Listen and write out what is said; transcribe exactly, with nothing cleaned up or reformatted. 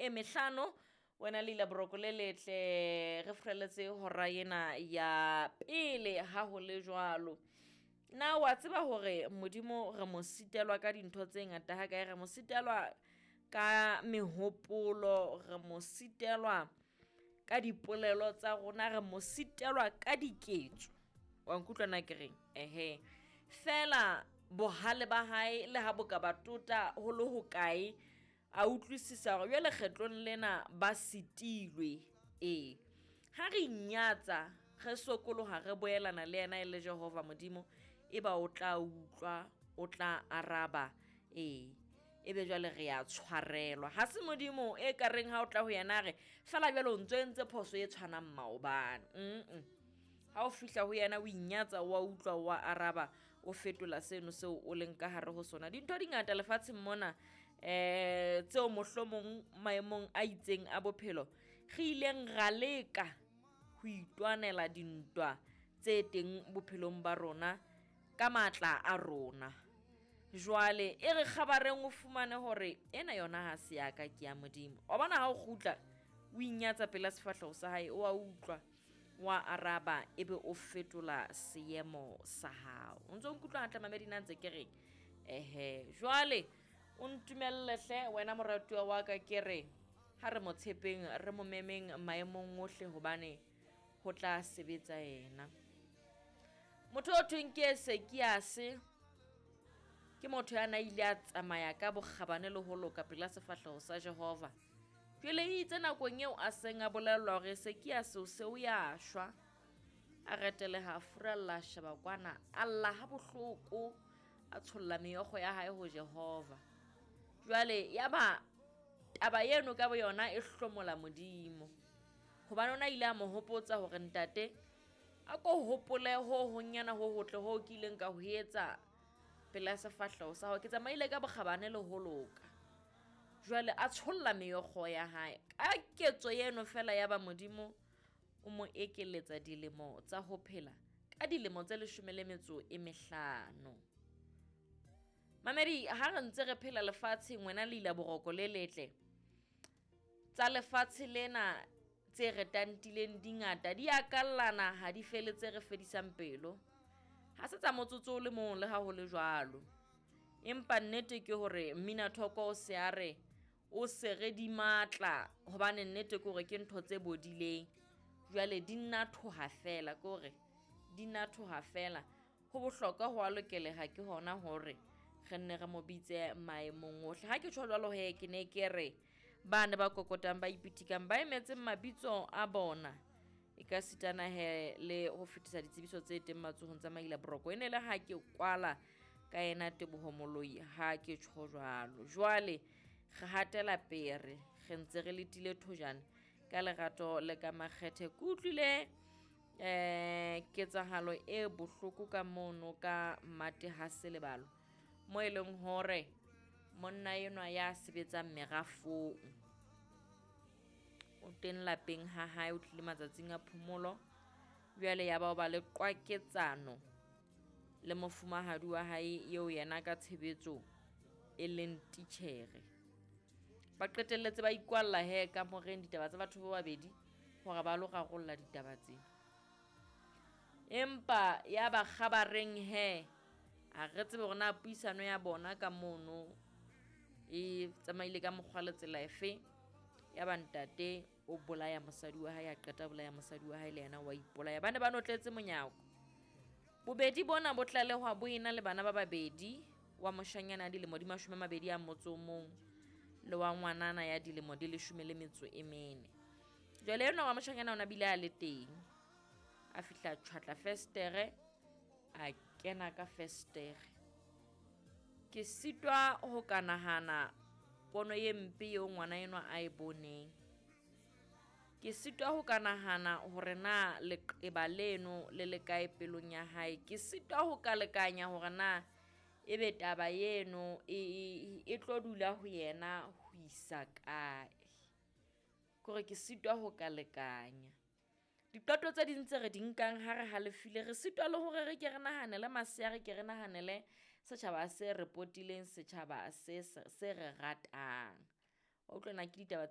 e mehlano. Wena le ila boroko le letle, re furaletse hora ena ya pele ha ho le jwalo. Na wa tseba hore Modimo re mo sitelwa ka dintho tse ngata ha kae, re mo sitelwa ka mehopolo, re mo sitelwa ka dipolelo tsa rona, re mo sitelwa ka diketso. Wa nkutlwa na ke reng? Ehe, fela bohale ba hae le ha bo ka ba tota ho le hokae, a utlwisisa hore jwale kgetlong lena ba sitilwe. Ee, ha re inyatsa, re sokoloha, re boelana le yena e le Jehova Modimo, e ba o tla utlwa, o tla araba. Ee, ebe jwale re ya tshwarelwa. Ha se Modimo e ka reng ha o tla ho yena a re fela jwale o ntso entse phoso e tshwanang maobane. Mm-mm. Ha o fihla ho yena o inyatsa, wa utlwa, wa araba, o fetola seno seo o leng ka hare ho sona. Dintho di ngata lefatsheng mona eh tseo mohlomong maemong a itseng a bophelo re ileng ra leka ho itwanela dintwa tse teng bophelong ba rona ka matla a rona. Jwale e re kgabareng o fumane hore ena yona ha se ya ka, ke ya Modimo. Wa bona ha o kgutla o inyatsa pela sefahleho sa hae, o a utlwa, wa araba, ebe o fetola seemo sa hao. O ntso nkutlwa hantle mamedi na ntse ke reng? Ehe, jwale o ntumelle hle wena moratuwa wa ka, ke re ha re mo tshepeng, re mo memeng maemong ohle hobane ho tla sebetsa yena. Motho o thweng ke Esekiase ke motho ya na ile a tsamaya ka bokgabane le ho loka pela sefahleho sa Jehova. Jwale e itse nakong eo a seng a bolellwa hore Esekiase o se o ya shwa, a reteleha, a furalla, a sheba kwana, a lla ha bohloko, a tsholla meokgo ya hae ho Jehova. Jwale ya ba taba eno ka boyona e hlomola Modimo, hobane o na ile a mo hopotsa hore ntate, a ko hopole ho honyana ho hotle ho ke ileng ka ho etsa pela sefahleho sa hao, ke tsamaile ka bokgabane le ho loka. Jwale a tsholla meokgo ya hae ka ketso eno fela, ya ba Modimo o mo ekeletsa dilemo tsa ho phela ka dilemo tse leshome le metso e mehlano. Mamedi, ha re ntse re phela lefatsheng, wena le ila boroko le letle, tsa lefatshe lena tse re tantileng di ngata, di akallana, ha di fele tse re fedisang pelo. Ha se tsa motsotso o le mong le ha ho le jwalo. Empa nnete ke hore mmina thoko o se a re o se re di matla, hobane nnete ke hore ke ntho tse bodileng. Jwale di nna thoha fela, ke hore di nna thoha fela. Ho bohlokwa ho a lokeleha ke hona hore re nne re mo bitse maemong ohle. Ha ke tjho jwalo he, ke ne ke re ba ne ba kokotang, ba ipitikang, ba emetseng mabitso a bona, e ka sitana he le ho fetisa ditsebiso tse teng matsohong tsa Maila Boroko. E ne le ha ke kwala ka ena Teboho Moloi, ha ke tjho jwalo. Jwale re hatela pere, re ntse re letile thojane ka lerato le ka makgethe. Ke utlwile eh ketsahalo e bohloko ka mono ka Mate ha Selebalo, mo e leng hore monna enwa ya sebetsang merafong o teng lapeng ha hae, o tlile matsatsing a phomolo. Jwale ya ba o ba le qwaketsano le mofumahadi wa hae eo yena ka tshebetso e leng titjhere. Ba qetelletse ba ikwalla he kamoreng ditaba tsa batho ba babedi hore ba lo rarolla ditaba tsena. Empa ya ba kgabareng he, a re tsebe hore na puisano ya bona ka mono e tsamaile ka mokgwa le tsela efe. Ya ba ntate o bolaya mosadi wa hae, a qeta bolaya mosadi wa hae le yena wa ipolaya. Ba ne ba notletse monyako. Bobedi bona bo tlalehwa bo ena le bana ba babedi, wa moshanyana ya dilemo di mashome a mabedi a motso o mong le wa ngwanana ya dilemo di leshome le metso e mene. Jwale enwa wa moshanyana o na bile a le teng, a fihla tjhwatla festere, a kena ka festere. Ke sitwa ho ka nahana pono e mpe eo ngwana enwa a e boneng. Ke sitwa ho ka nahana hore na leqeba leno le le kae pelong ya hae. Ke sitwa ho ka lekanya hore na ebe taba eno e, e, e tlo dula ho yena ho isa kae. Ke hore ke sitwa ho ka lekanya. Diqeto tse ding tse re di nkang ha re halefile, re sitwa le hore re ke re nahanele masea, re ke re nahanele setjhaba se re potileng, setjhaba se, se re ratang. Wa utlwa na ke ditaba tse